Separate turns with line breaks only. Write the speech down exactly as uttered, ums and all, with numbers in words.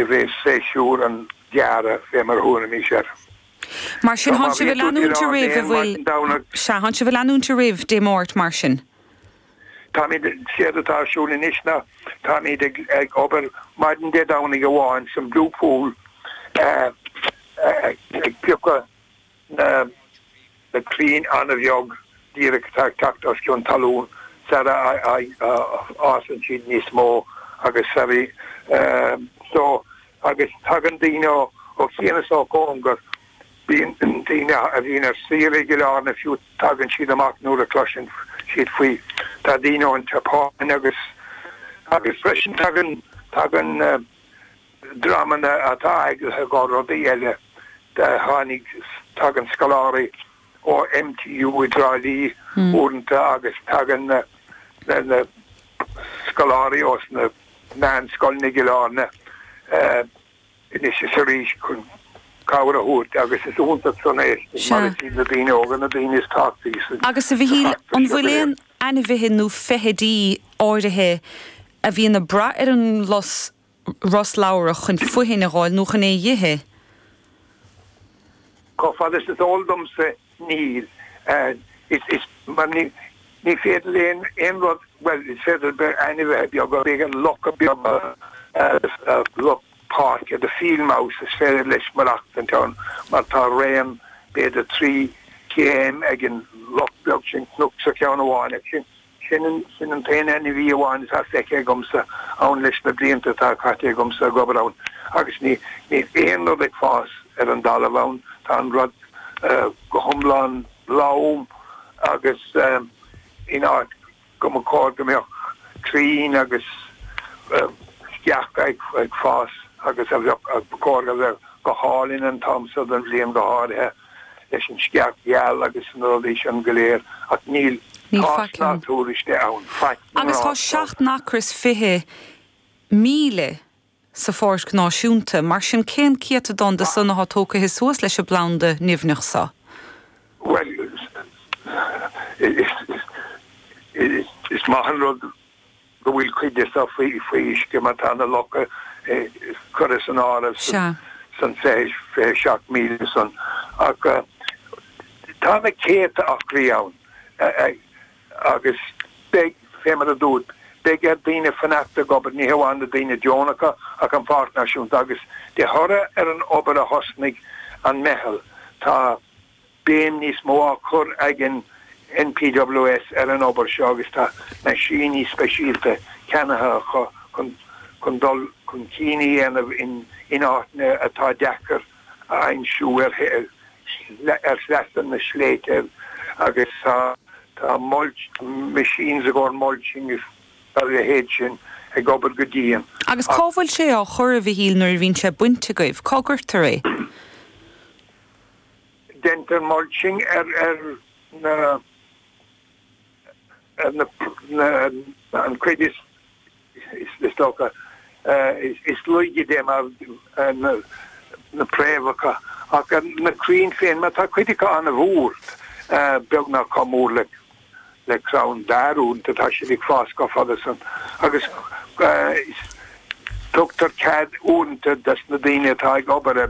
I rith séasúr an ghearradh, fé mar thuairimís air.
Mar sin tá sibh ag leanúint roimh a bhfuil sea tá sibh ag leanúint roimh Dé Máirt mar sin.
Táimid séard atá ar siúl anois ná táimid ag ag obair maidin Dé Domhnaigh amháin san Blue Pool ag piocadh na na crainn an-bheag díreach atá ag teacht os cionn talún sara fhásann siad níos mó agus sara so agus tagann daoine ó chian is ó chóngar. Bíonn daoine a bhíonn ar saoire i gCill Airne fiú tagann siad amach nuair a chloiseann siad faoi. Tá daoine ón tSeapáin agus agus freisin tagann tagann dreamanna atá eaglaithe go rudaí eile. Tháinig tagann scoláirí ó M T U i dTrá Lí uaireanta agus tagann na na scoláirí ós na meánscoileanna i gCill Airne anois is arís chun cabhair a thabhairt agus is iontach san é mar is iad na daoine óga na daoine is tábhachtaí sa
Agus a Mhichíl,
feachtas
an
seo
bhfuil
go léir.
aon ainmhithe nó feithidí áirithe a bhíonn ag brath ar an lus rosladhrach chun fothain a fháil nó chun é a dh'ithe?
Chomh fada is is eol domsa níl. Is is mar ní ní féidir aon aon rud bhuel is féidir be ainmhithe beaga b'fhéidir lucha beaga luch páirce the field mouse is féidir leis maireachtaint ann mar tá raon b'fhéidir trí chéim ag an luch beag sin cnoc sa cheann amháin ach sin sin an sin an t-aon ainmhí amháin atá feicthe agamsa ann leis na blianta atá caite agamsa ag obair ann agus ní níl aon rud ag fás ar an dtalamh ann tá an rud go hiomlán lom agus in áit go mba chóir go mbeadh crainn agus sceacha ag ag fás agus a bheadh ba chóir go bheadh go hálainn an t-am seo den bhliain go háirithe leis an sceach gheal agus na rudaí sin go léir ach níl
Níl
tásc
faic
ná
ann.
tuairisc de ann faic
Agus tá seacht n-acra is fiche míle sa Pháirc Náisiúnta, mar sin cén céatadán de san atá tógtha suas leis an bplanda nimhneach seo?
Well is is is maith an rud go bhfuil cuid de seo faoi faoi uisce mar tá na locha curtha san áireamh
Sea.
san fiche fiche seacht míle san ach tá na céadta acraí ann agus beidh fé mar a dúirt beidh ar daoine fanacht ag obair ní hamháin na daoine deonacha ach an Pháirc Náisiúnta agus de thoradh ar an obair a thosnaigh an meitheal tá béim níos mó á cur ag an N P W S ar an obair seo agus tá meaisíní speisialta ceannaithe acu chun chun dul chun cinn a dhéanamh in in áiteanna atá deacair a aimsiú ar ar shleasa na sléibhte agus tá tá mulch machines i gcomhair mulching is a leithéid sin ag obair go dian.
Agus cá bhfuil sé á chur a Mhichíl nuair a bhíonn sé bainte agaibh, cá gcuirtear é?
Déantar mulching ar ar na ar na na an chuid is is is dócha is is laige de mar na na préamhacha ach na crainn féin mar tá cuid acu an-mhór beagnach chomh mór le le crann dair tá siad ag fás go fada san agus tugtar cead uaireanta dos na daoine atá ag obair ar